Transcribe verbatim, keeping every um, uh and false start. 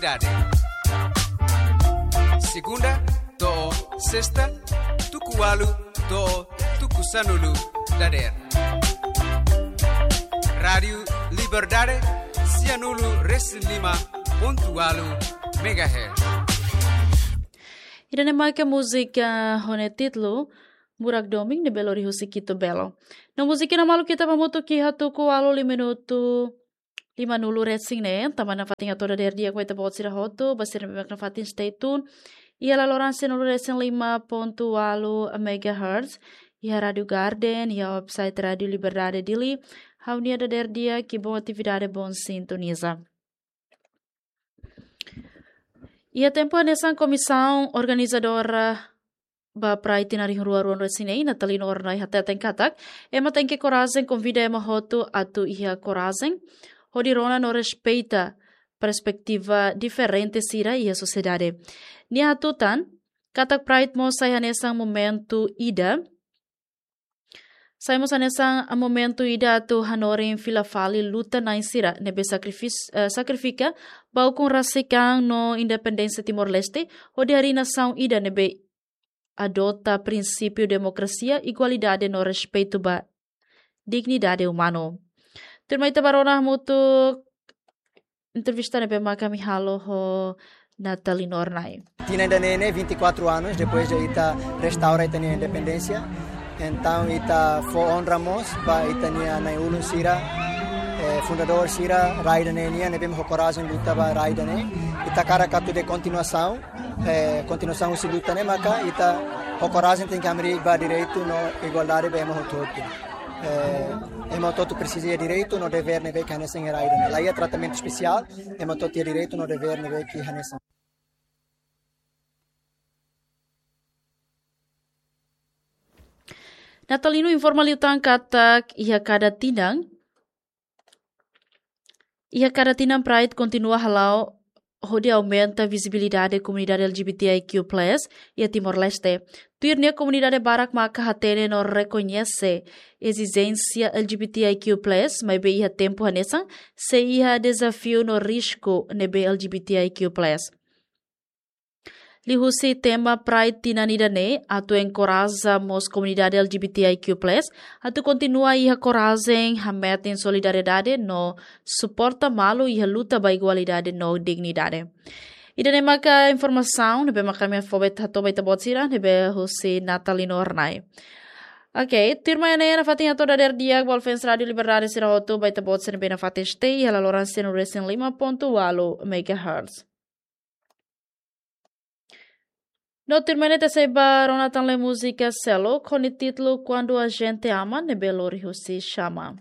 Dade. Segunda to'o sesta, tuku ualu to'o tuku sanulu dadeer. Rádiu Liberdade, sianulu resin lima pontu ualu megahertz. Ida-ne'e maka múzika ho nia títulu Murak Domin ne'ebé lori husi Kitu Belo. No múzika ne'e maluk ita ba hamutuk iha tuku ualu lima minutu limanulu resin ne'e, tanba nafatin hato'o dadeer di'ak ba ita-boot sira hotu, ba sira ne'ebé mak nafatin stay tune iha laloran sianulu resin lima pontu ualu megahertz, iha Rádiu Garden, iha website Rádiu Liberdade Dili. Ha'u-nia dadeer di'ak, bom atividade, bom sintoniza. Iha tempu hanesan komisaun organizadora ba Pride tinan rihun rua ruanulu resin neen, Natalino Hornai hateten katak ema tenke korajen, konvida ema hotu atu iha korajen hodi rona no respeita perspetiva diferente sira iha sosiedade. Nia hatutan katak Pride mós sai hanesan momentu ida, sai mós hanesan momentu ida atu hanorin fila fali luta-na'in sira ne'ebé sakrifis-, eh, sakrifika ba ukun rasik an no independénsia Timor-Leste, hodi harii nasaun ida ne'ebé adota prinsípiu demokrasia, igualdade no respeitu ba dignidade umanu. Tuirmai ita ba rona hamutuk entrevista ne'ebé mak ami halo ho Natalino Hornai. Tinan ida-ne'e ne'e vinte e quatro anos depois de ita restaura ita-nia independénsia. Entaun ita fó onra mós ba ita-nia na'in-ulun sira, eh, fundadór sira rai ida-ne'e nian, ne'ebé mak ho korajen luta ba rai ida-ne'e. Ita hakarak atu dehan kontinuasaun, eh, kontinuasaun husi luta ne'e maka ita ho korajen tenke hamriik ba direitu no igualdade ba ema hotu-hotu. Eh, ema hotu-hotu presiza iha direitu no devér ne'ebé ke hanesan iha rai ida-ne'e. La iha tratamentu espesiál, ema hotu-hotu iha direitu no devér ne'ebé ke hanesan. Natalino informa liután katak iha kada tinan, iha kada tinan Pride kontinua hala'o hodi aumenta vizibilidade komunidade L G B T I Q plus iha Timor-Leste. Tuir nia, komunidade barak maka hatene no rekoñese ezijénsia L G B T I Q plus, maibé iha tempu hanesan sei iha dezafiu no risku ne'ebé L G B T I Q plus. Liuhusi tema Pride tinan ida-ne'e atu enkoraja mós komunidade L G B T I Q plus atu kontinua iha korajen, hametin solidariedade no suporta malu iha luta ba igualdade no dignidade. Ida-ne'e maka informasaun ne'ebé maka ami fó ba ita, hato'o ba ita-boot sira, ne'ebé husi Natalino Hornai. Ok, tuirmai ne'e nafatin hato'o dadeer di'ak ba fans Rádiu Liberdade sira hotu, ba ita-boot sira ne'ebé nafatin stay iha laloran sianulu resin lima pontu ualu megahertz. No tuirmai ne'e ita sei ba rona tan le múzika seluk ho nia títulu Quando a Gente Ama ne'ebé lori husi Xama.